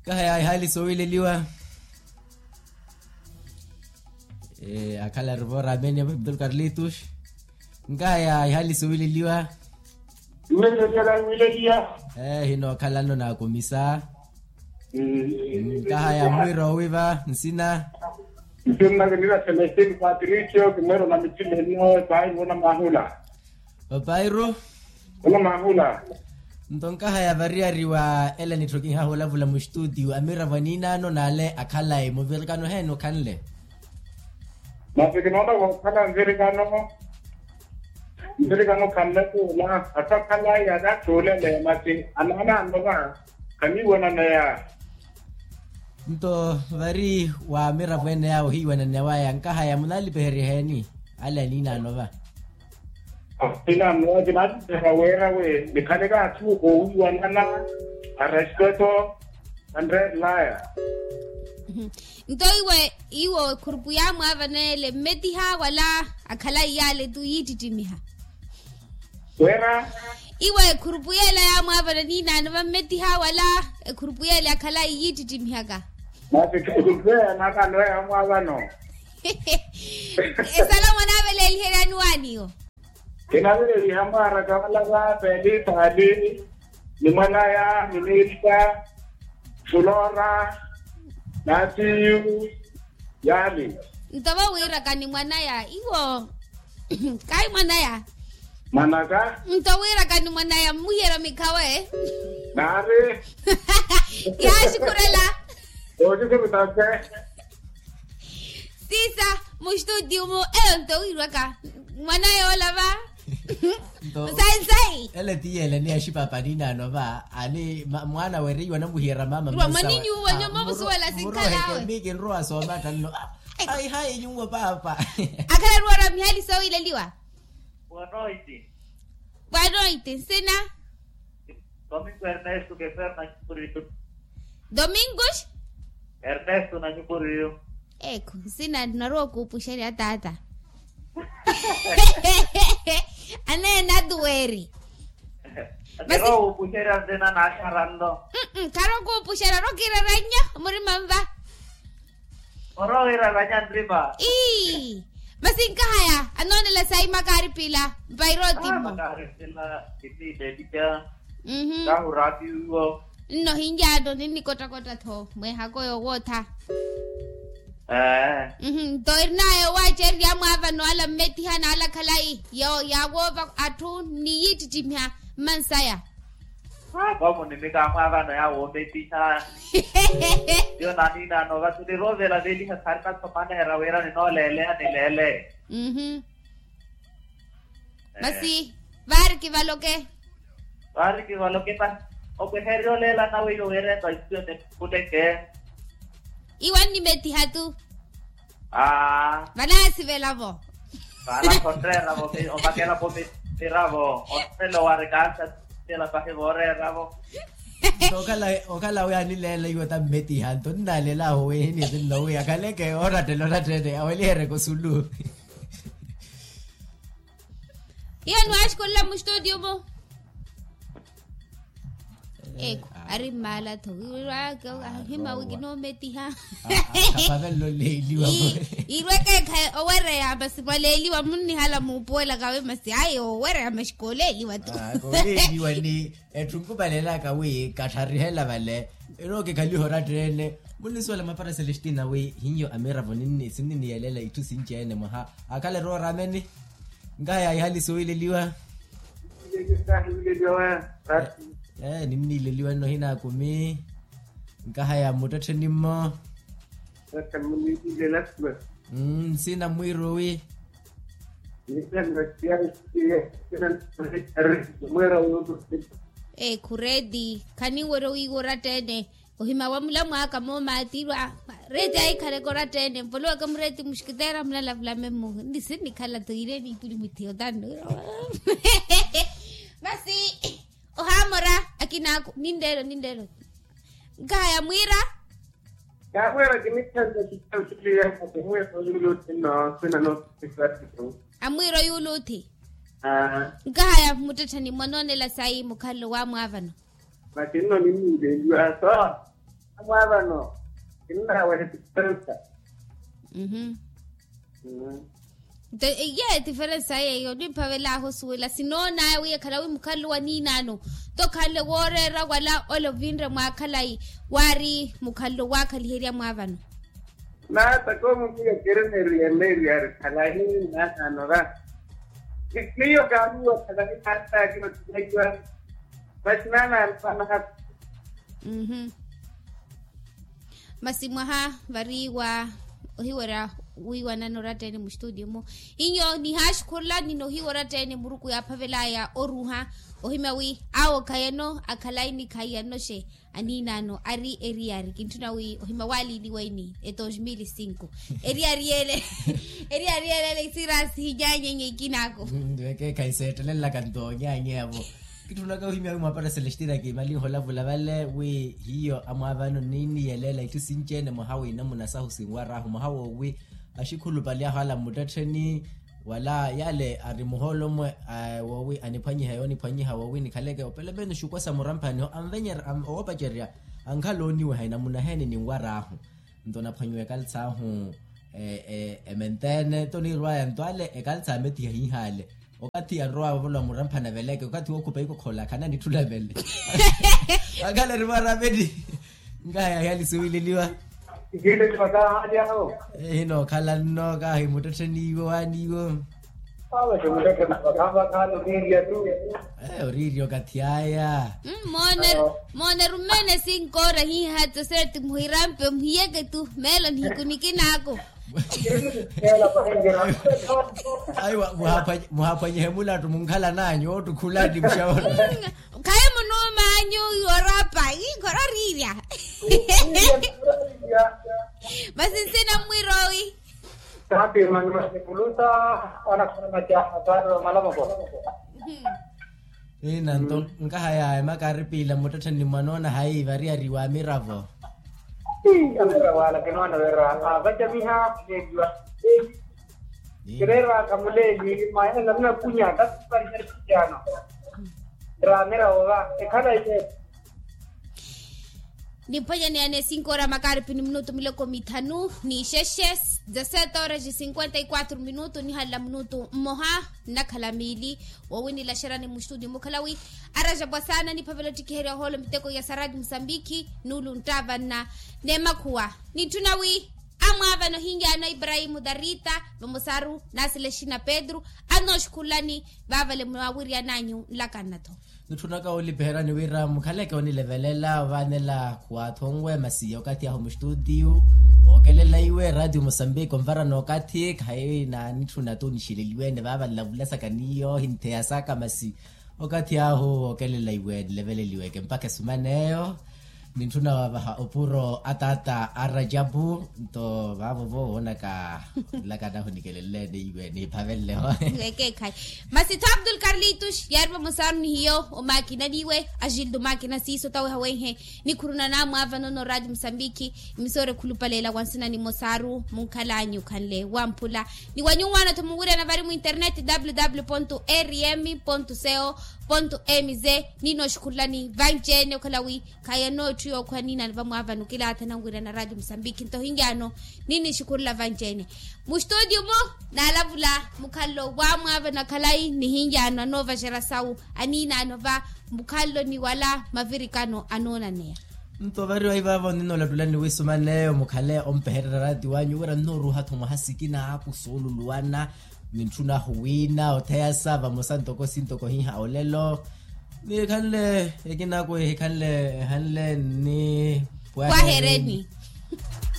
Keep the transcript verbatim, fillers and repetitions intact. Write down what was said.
Nkahaya ihaali soowileliwa. Akhala rivoora amene abdul karlitus. Nkahaya ihaali soowileliwa. Mmene ntela wiileliya. Hinookhalano naakumisa. Nkahaya mwiira owiva nsina. Nsinnaka nira celestine patricio kimweerona mitthimeno epairu onamahula. Opairu. Onamahula. Nto nkahaya variyari wa ela nitthu kinhahulavula mustutiyu amiravo aniinaano n'ale akhalayi muvirikano heeni okhanle? Masi kinoona okhala nvirikano. Nvirikano khanle kuula atthu akhalayi anatthuulele masi anaanaano va. Khaniiwananeya. Nto vari wa miravo ene yaawo hiiwananeya waya nkahaya munalipeherya eheeni? Ale aniinaano va. Aniinaano va kinaalipeherya weera wi nikhaleke atthu oowiwanana. Arespeto anreerelaya. Nto iwe iwo ekhurupu yaamwaavana ele mmetiha wala akhalayi yaale tu yiittittimiha? Wira. Iwe ekhurupu yeela yaamwaavana niinaano va mmetiha wala ekhurupu yeela akhalayi yiittittimiha ka? Masi ekhurupu yeela naakaano yaamwaavano. Esala mwanaaveleliheryani waaniwo? Kinaveleliha mwaaraka vala va pelitaali ni mwanaya ni milita fulora natiyu. Yaani. Nto vo wiiraka ni mwanaya iwo. Kahi mwanaya. Mwanaka. Nto wiiraka ni mwanaya mmuhiyerya mikhawe. Naari. Yaaxikhurela. Oxixirutase. Siisa mustutiyu mu eyo nto wiiraka mwanaya ola va. Nto. Nsayi nsayi ele ti yeele ni axipapa aniinaano va ani mwaana weriiwa namuhiyerya mama mwa mwanini uwo nyuma omusuwela sinkhalaawe. Miiki nrowa sooma attanno. Ai hayi nyuwo paapa. Akhala eruwara mihaali soowileliwa. Boa noite. Boa noite nsina? Domingo ernesto keferna nyukurito. Domingos. Ernesto na nyukurito. Ekhu nsina narowa okuupuxerya taata. Aneena tuweri. Masi. Kero wuupuxerya nzina naaxaranno. Kharo kuupuxerya orokiirerya nnyo murima nva. Orowiirerya nya nrima. Ii. Masi nkahaya anoonela sayi makaari pila mpairo timmo. Makaari pila kitiile etiya. Kahurapiwo. Nno hinjaano ninnikottakotta tho mweehako yoowootha. Nto erinayo waacererya amwaavano ala mmetiha n'ala khalayi yaawoova atthu ni yiittittimiha mmansaya. Aa koomunimika amwaavano yaawoometiha. Yo naniinaano vatu niroovela veliha khari nathomaneherya wira ninooleeleya nileele. Masi vaari kivaloke. Vaari kivaloke masi okwehererya oleela nawe iyo wira epasiyo nikhuleke. Iwe onnimetiha tu. Aa vanaasivelavo. Vanakhonreeravo omakelapo miravo onrela owarikaasa. Tela pahi vooreeravo. Okhala okhala wi anileela iwe tammetiha nto nnaleela ahu wi hinitinno wi akhaleke orattela orattene awelihereke osulu. Iyo niwaaxikolela mustutiyo mu. Ekhu ari mmaala tho. Ahima wi kinoometiha. Akhapavela oleeliwa. Irweke ekha owereya masi mwaleeliwa munnihala muupuwelaka wi masi ayi owereya masi kooleeliwa tu. Kooleeliwa ni etthu nkupalelaka wi katharihela vale. Ino kikhaliha oratta-ene. Munnisuwela mapara celestina wi hinyo amiravo sinniniyeleela itthu sinci-ene mwaha akhala eroora amene. Nkahaya ihali soowileliwa. Ninniileliwa nno hinaakumi. Nkahaya mmuttettheni mmo. Nsina mwiirowi. Ekhu reeti khaninwerya owiiwa oratta-ene. Ohima wa mulamwaaka moomatirwa. Reeti ahikhaleke oratta-ene mvolowe ka mureeti muxikiteera munalavulame mmuhu nni sinnikhala toire niipuli muthiyo tannu. Masi ohaamora akinaaku ninleelo ninleelo. Nkahaya mwiira. Kaamwiira kinikhanle kitautuliya. Mwiira oyuuluuthi nno sinano. Amwiira oyuuluuthi. Nkahaya mmuttettheni mwa noonela sayi mukhalelo waamwaavano. Masi nno ninniileliwa so. Mwaavano kinnawe etiferensa. Nto iye etiferensa yeeyo nimphavelaahu osuwela sinoonaya wi ekhala wi mukhalelo wa niinaano, nto khanle wooreera wala ole ovinre mwa khalayi waari mukhalelo waakhaliherya mwaavano. Naata koomukiya keremeriyele eri ari khalayi naanaano ra. Miyo kaamiwa khalayi naataaki otilekiwa. Masi naanaano anahaku. Masi mwaha vari wa ohiwerya wiiwanana oratteene muxituutiyo-mu. Inyo nihaaxukhurula nino ohiwerya tteene muruku yaaphavelaya oruuha ohimya wi awo khayano akhalayi ni khayano xe. Aniinaano ari eriyari kintthuna wi ohimya waaliiliwa ini e dos mil cinco. Eriyari yeele eriyari yeele ele isirasi hinyaanyenye ikinaako. Wekeekhayi seettelelaka nto onyaanyeyavo. Kitthunaka ohimya wi mwaapara selestina kiimalinha olavula vale wi hiyo amwaavano niiniyeleela itthu sinci-ene mwaha w'inamuna sahu sinwar'ahu mwaha woowi axikhulupali ahu ala mmuttettheni. Wala yale ari muhoolo-mwe woowi aniphwanyiha yooniphwanyiha woowi nikhaleke opele menos xukwa sa muramphani-ho anvenyerya owopacerya. Ankhala ooniweha inamuna heeni ninwar'ahu. Nto naphwanyiwa ekalits'ahu ementeene nto niirwaya nto ale ekalits'ahu ametiha hiihaale. Okathi anrowa vavolowa muramphani aveleke okathi wookhupa ikokhola khananitthula vele. Akhala eri mwarameni. Nkahaya hiyali suwileliwa. Hinookhala nno kahi muttettheni iwo waani iwo. Oriirya okathi aya. Moone rumeene sinkoora hiihatsa seeti muhirampe muhiyeke tu meelo nihiku nikinaako. Ayi muhaphwanyihe mulattu munkhalan'anyu oottukhulani muxawono. Khayi munuum'anyu yorapa inkora oriirya. Masi nsina mmwirowi. Taati mani masipulusa. Anakhana macaha taati wa malamoko. Ina nto nkahaya emakaripiila mmuttettheni ni mwanoona hayi variyari wa miravo. Amiravo ala kinoona wira avacamiha. Kireeraka muleeli mwayanela munakunya taati. Ira amiravo va ekhala iye. Nimphwanyaneyane cinco ora makaripi ni minutu miloko mithanu n'ixexe. Dezasete horas e cinquenta e quatro minutu nihalela minutu mmoha nnakhala miili. Woowinilaxerani muxituti mukhala wi araja pwasana niphavela ottikiherya ohoolo miteko ya saradi musambikhi. Nuulu nttavanna n'emakhuwa nitthuna wi amwaavana ohinyaano a iprahimu darita vamosaru nasilexina petru. Anooxukhululani vaavale mwawiryan'anyu nlakanna-tho. Nitthunaka woolipiherani wira mukhaleke onilevelela ovaanela khuwaathi onwe masi okathi ahu muxitutiyu. Ookelela iwe ratio musambiki onvarana okathi khayi naanitthuna t'unixileliwene vaava nlavulasaka n'iyo ohintheyasaka masi okathi ahu wookelela iwe nileveleliweke mpakha esuman'eyo. Nintthuna wavaha opuro a taata a rajapu nto vaavo-vo woonaka nlakana ahu nikelelleene iwe niphavenle-ho. Ekeekhayi. Masi tho abdul karlitus yaari vamosaru ni hiyo omaakina n'iwe agildo maakina siiso tawe hawenhe. Nikhuruna naamwaavano n'oraati musambikhi. Emisoora ekhulupaleela wa nsina nimosaru munkhal'anyu khanle wamphula. Ni wa nyuwaana-tho muwirana vari mu internet www rm co mz. Ninooxukhululani vanci-ene okhala wi khayi anootthu yookhwa niinano vamwaavano kilaatha nanwirana raati musambikhi nto ohinyaano. Ninixukhurula vanci-ene muxitutiyu-mu. Naalavula mukhalelo wamwaavano akhalayi nihinyaano anoovaxerya sawu aniinaano va mukhalelo ni wala mavirikano anoonaneya. Nto vari vahivaavo ninnoolattulani wi suman'eyo mukhale ompehererya raati wanyu wira nnooruuha-tho mwaha sikina aakusuululuwana. Nintthuna ahu wiina otheyasa vamosa ntoko sintoko hiiha olelo. Nikhanle ekinaku ehikhanle ehanle nni pwahereni.